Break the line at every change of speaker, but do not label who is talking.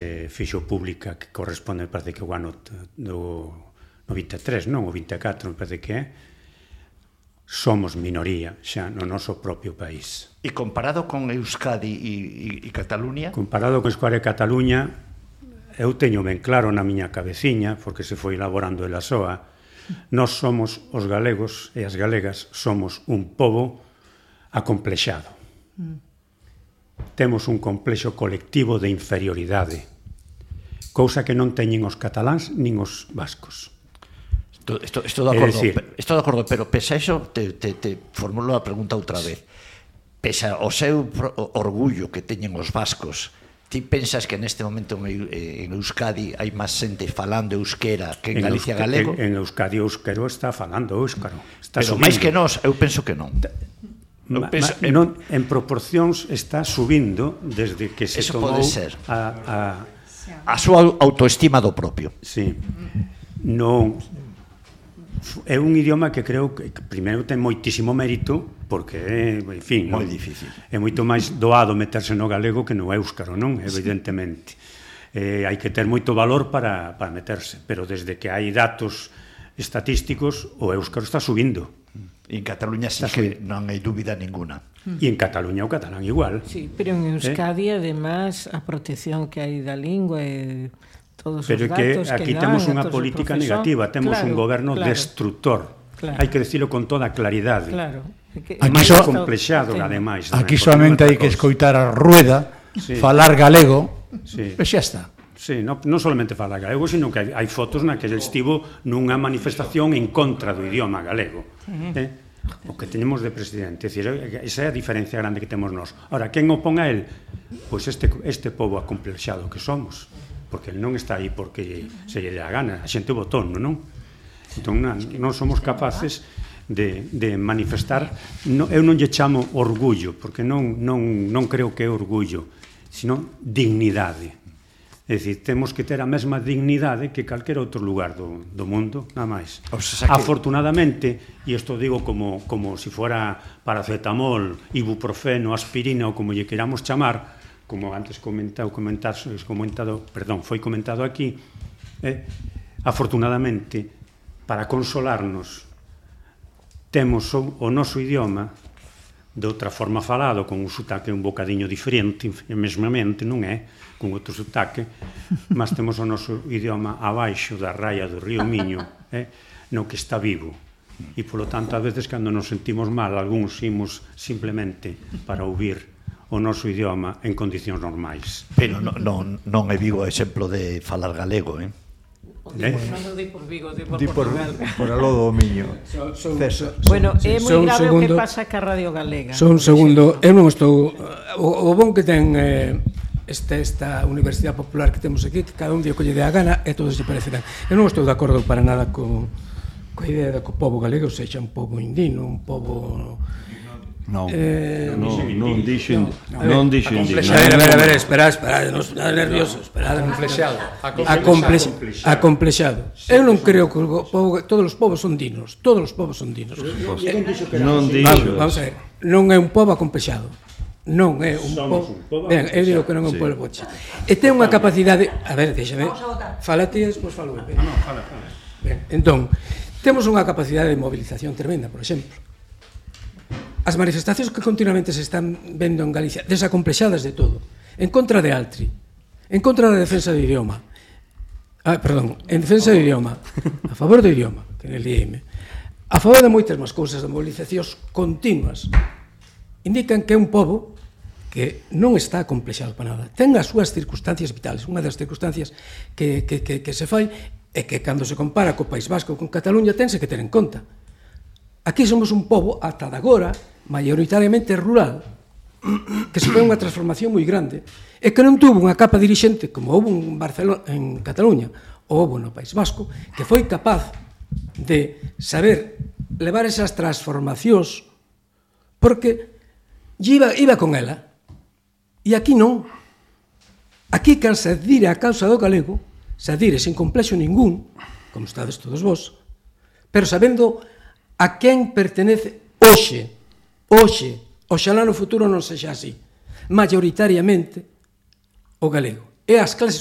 fixo pública, que corresponde, me parece que o ano do 23, non? O 24, me parece que é. Somos minoría xa no noso propio país.
E comparado con Euskadi e Cataluña?
Comparado con Euskadi e Cataluña, eu teño ben claro na miña cabeciña, porque se foi elaborando ela soa, nós somos os galegos e as galegas somos un pobo acomplexado. Temos un complexo colectivo de inferioridade, cousa que non teñen os cataláns nin os vascos.
Estou de acordo, pero pese a iso, te formulo a pregunta outra vez. Pese ao seu orgullo que teñen os vascos, ti pensas que neste momento en Euskadi hai máis xente falando euskera que en Galicia galego?
En Euskadi o euskero está falando euskaro.
Pero máis que nós, eu penso que non.
En proporcións está subindo desde que se tomou
a súa autoestima do propio.
Sí. Non é un idioma que creo que primeiro ten moitísimo mérito, porque en fin,
moi difícil.
É moito máis doado meterse no galego que no éuskaro, non? Evidentemente. Hai que ter moito valor para meterse, pero desde que hai datos estatísticos o éuskaro está subindo.
E en Cataluña sí que non hai dúbida ninguna.
E en Cataluña o catalán igual.
Sí, pero en Euskadi, además, a protección que hai da lingua e todos os datos que dan...
Pero que aquí temos unha política negativa, temos un goberno destructor. Hai que decirlo con toda claridade.
Claro.
É máis complexado, ademais.
Aquí solamente hai que escoitar a Rueda, falar galego, e xa está.
Sí, non solamente falar galego, sino que hai fotos na que ele estivo nunha manifestación en contra do idioma galego. O que teñemos de presidente. Esa é a diferencia grande que temos nós. Ora, quen opón a él? Pois este pobo acomplexado que somos. Porque ele non está aí porque se lle dá a gana. A xente votou, non? Entón, non somos capaces de manifestar. Eu non lle chamo orgullo, porque non creo que é orgullo, sino dignidade. É dicir, temos que ter a mesma dignidade que calquera outro lugar do mundo, nada máis. Afortunadamente, e isto digo como se fora paracetamol, ibuprofeno, aspirina ou como lle queramos chamar, como antes foi comentado aquí, afortunadamente, para consolarnos, temos o noso idioma de outra forma falado, con un sotaque un bocadiño diferente, mesmamente, non é? Con outro sotaque, mas temos o noso idioma abaixo da raia do río Miño, no que está vivo. E, polo tanto, a veces, cando nos sentimos mal, algúns imos simplemente para ouvir o noso idioma en condicións normais.
Pero non é Vigo exemplo de falar galego,
Non di por Vigo, di por Portugal.
Por aló do Miño.
Bueno, é moi grave o que pasa ca Radio Galega.
Só un segundo, eu non estou... O bon que ten esta Universidade Popular que temos aquí, que cada un día colle de a gana e todos se parecerán. Eu non estou de acordo para nada coa idea de que o pobo galego sexa un pobo indino, un pobo...
Non
A
dixen
ver, espera, non estou nervioso, espera, acomplexado. Eu non creo que todos os povos son dinos, todos os povos son dinos.
Non dixo.
Vamos a ver, non é un pobo acomplexado. Non é un pobo. Ben, eu digo que non é un pobo boche. E ten unha capacidade, a ver, déxame. Fala ti e despois falo eu.
Non, fala.
Ben, entón, temos unha capacidade de movilización tremenda, por exemplo. As manifestacións que continuamente se están vendo en Galicia, desacomplexadas de todo, en contra de Altri, en contra da defensa do idioma, en defensa do idioma, a favor do idioma, que é el IEM, a favor de moitas máis cousas, de movilizacións continuas, indican que é un pobo que non está acomplexado para nada. Ten as súas circunstancias vitales. Unha das circunstancias que se fai é que cando se compara co País Vasco con Cataluña tense que ter en conta. Aquí somos un pobo, ata de agora, maioritariamente rural, que se foi unha transformación moi grande, e que non tuvo unha capa dirixente como houve en Cataluña ou houve no País Vasco, que foi capaz de saber levar esas transformacións porque iba con ela. E aquí non. Aquí can se adire a causa do galego, se adire sin complexo ningún, como estades todos vos, pero sabendo a quen pertenece hoxe, oxalá no futuro non sexa así, maioritariamente o galego. e as clases